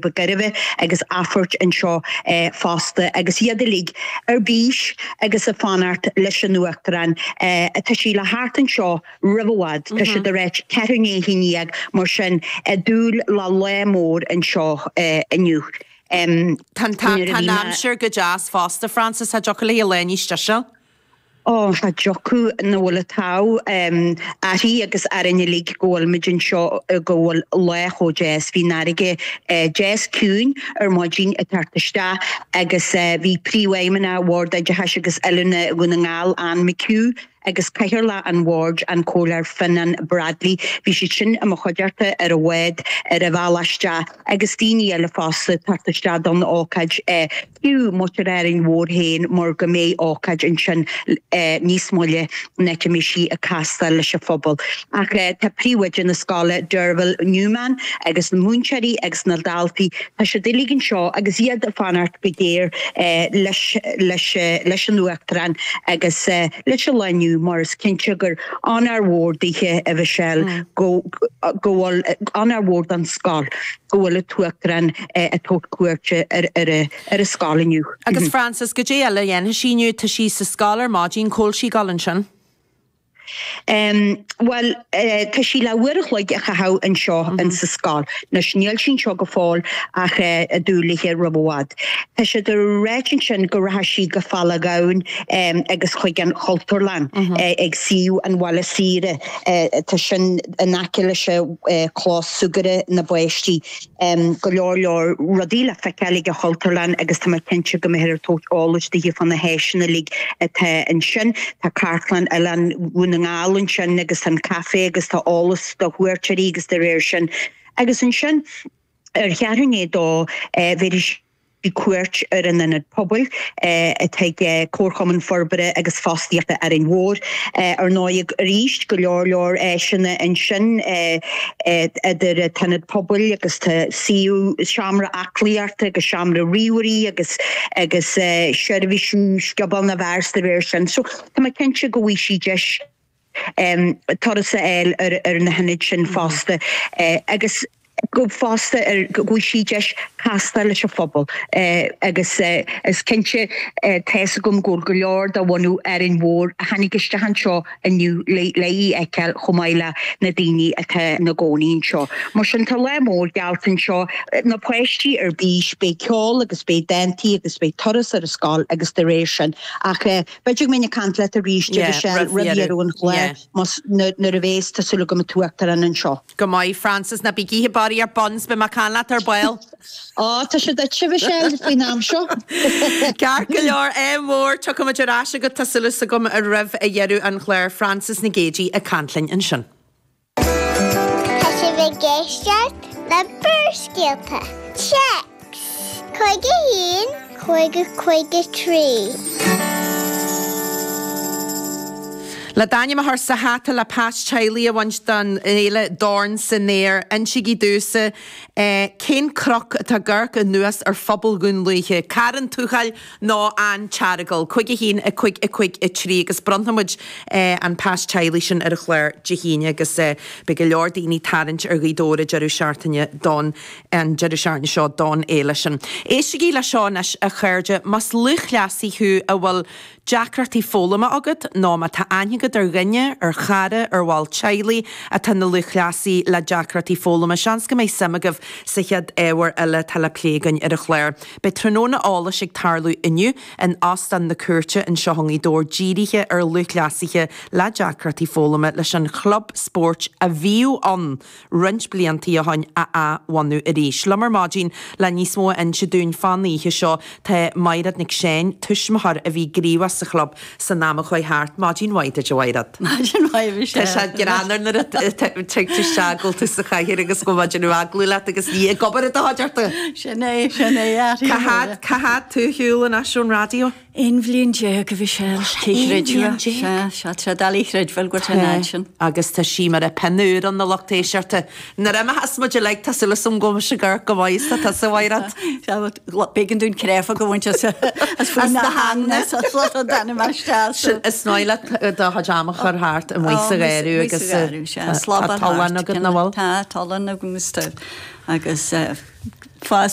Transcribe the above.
Ba Ghairbhe agus Aifort anseo fosta agus iad uilig ar bís agus ag fanacht leis an Uachtarán. Tá sí le theacht anseo roimh i bhfad, tá siad ag ráit ceathrú i ndiaidh a haon dhéag, mar sin ag dúil le lá mór anseo inniu. Tá an aimsir go deas fosta, Frances, cha dtiocfadh léi lá níos deise. Ó, cha dtiocfadh nach bhfuil an t-ádh uirthi agus orainn uilig go bhfuil muid anseo, go bhfuil lá chomh deas. Bhí an fharraige deas ciúin ar maidin ag teacht isteach agus bhí Príomhfheidhmeannach Bhord Oideachais agus Oiliúna Dhún na nGall, Anne McHugh, agus Cathaoirleach an Bhoird, an Comhairleoir Fionnán Bradley, bhí siad sin i mo chuideachta ar an bhád ar a bhealach isteach agus daoine eile fosta ag teacht isteach don ócáid. Fiú muintir Árainn Mhór féin mar go mbeidh ócáid ansin níos moille ina mbeidh sí ag castáil leis an phobal. Ach tá príomhoide na scoile, Derval Newman, agus na múinteoirí agus na daltaí, tá siad uilig anseo agus iad ag fanacht go géar leis leis leis an Uachtarán agus leis an lá inniu mar is cinnte gur onóir mhór daoithe, a Mhichelle, go go bhfuil onóir mhór don scoil. go bhfuil an tUachtarán ag tabhairt cuairte ar an scoil inniu. Agus Frances, goidé eile a dhéanfaidh sí inniu? Tá sí sa scoil ar maidin, cá bhfuil sí ag dul ansin? Bhuel, tá sí le uair a chloig a chaitheamh anseo in sa scoil. Anois, níl sí anseo go fóill ach ag dúil léi roimh i bhfad. Tá siad ag ráit ansin go rachaidh sí go Falla Gabhann agus chuig an Chultúrlann ag suíomh an Bhaile Saoire. Tá sin in aice leis an chlós súgartha na bpáistí. Go leor leor rudaí le feiceáil ag an Chultúrlann agus tá mé cinnte go mbeifear ag tabhairt eolais daoithe fá na háiseanna uilig atá ansin. Tá Cartlann Oileán Dhún na nGall ansin agus tá an caife agus tá eolas do chuairteoirí agus dá réir sin. Agus ansin ar cheathrú i ndiaidh a dó bhéarfaidh sí cuairt ar an Ionad Pobail atá ag Comharchumann Forbartha agus Fostaíochta Árainn Mhór. Ar ndóigh, arís, go leor leor áiseanna ansin idir an tIonad Pobail agus tá suíomh seomra aclaíochta agus seomra ríomhairí agus agus seirbhísí scioból na bhfear 's dá réir sin. So tá mé cinnte go bhfaighidh sí deis turas a fháil ar na hionaid sin fosta agus go fosta ar go bhfaighidh sí deis castáil leis an phobal agus is cinnte tá's agam go bhfuil go leor de bhunadh Árainn Mhór a tháinig isteach anseo inniu le í a fheiceáil chomh maith le na daoine atá ina gcónaí anseo. Mar sin tá lá mór geallta anseo, na páistí ar bís, beidh ceol agus beidh dántaí agus beidh turas ar an scoil agus dá réir sin ach B'fhéidir go mbeinn ag caint leat arís, a Mhichelle, roimh dheireadh an chláir, más, nuair a bhéas, tá súil agam, an tUachtarán anseo. Go maith, Frances, ná bí ag ithe barraíocht ar buns, beidh mé ag caint leat ar ball. Á, tá sé duitse, Mhichelle, faoin am seo. Ceart go leor, ádh mór, tiocfaimid ar ais agat, tá súil agam, roimh dheireadh an chláir. Frances Nic Géadaigh ag caint linn ansin. Tá sibh ag éisteacht le Barrscéalta. Téacs 51 50 53. Le d'ainm a chur sa hata le pas teaghlaigh a bhaint don fhéile Dorn san Aer, insígí domhsa cén cnoc atá ag amharc anuas ar phobal Dhún Lúiche, Carn Tuathail nó An tEaragail, 5 1 5 5 3 agus bronnfaidh muid an pas teaghlaigh sin ar an chlár Dé hAoine agus beidh go leor daoine ag tarraingt ar Ghaoth Dobhair an deireadh seachtaine don an deireadh seachtaine seo don fhéile sin. Éistigí le seo anois a chairde, más lúthchleasaí thú a bhfuil deacrachtaí foghlama agat nó má tá aithne agat ar dhuine, ar chara, ar bhall teaghlaigh atá ina lúthchleasaí le deacrachtaí foghlama, seans go mbeidh suim agaibh sa chéad ábhar eile atá le plé againn ar an chlár. Beidh tráthnóna eolais ag tarlú inniu in Óstán na Cúirte anseo i ngaoth Dobhair dírithe ar lúthchleasaithe le deacrachtaí foghlama leis an chlub spóirt a bhíodh ann roinnt bliantaí ó shoin a athbhunú arís. Liom ar maidin le níos mó a inse dúinn fán oíche seo tá Maighread Nic Seáin, tuismitheoir a bhí gníomhach sa chlub san am a chuaigh thart. Maidin mhaith duit a Mhaighread. Maidin mhaith Michelle. Tá sé greannmhar nuair a tig tú isteach go bhfuil tú sa chathaoir agus go bhfuil muid ag déanamh agallamh leat agus ní ag obair atá ort. Sin é, sin é, Cá fhad, cá fhad tú ar shiúl anois ón raidió? 11 bhliain a bhí sé cé chreidfeadh. Sea, sea, tá sé doiligh a chreidbheáil go bhfuil sé an fhad sin. Agus tá sí mar a pinn úr ann a lucht éisteachta. Nuair a imeochas muid uilig tá súil agam go mbeidh mise ag amharc go maith is tá tusa, Mhaighread. Sea, b'éigean dúinn créafóg a bhaint as as faoi na heagna sa slot an d'ainm isteach. Sin, is maith leat do chuid ama a chur thart amuigh sa gharradh agus tá tollán agat nach bhfuil? Tá tollán agam agus fás.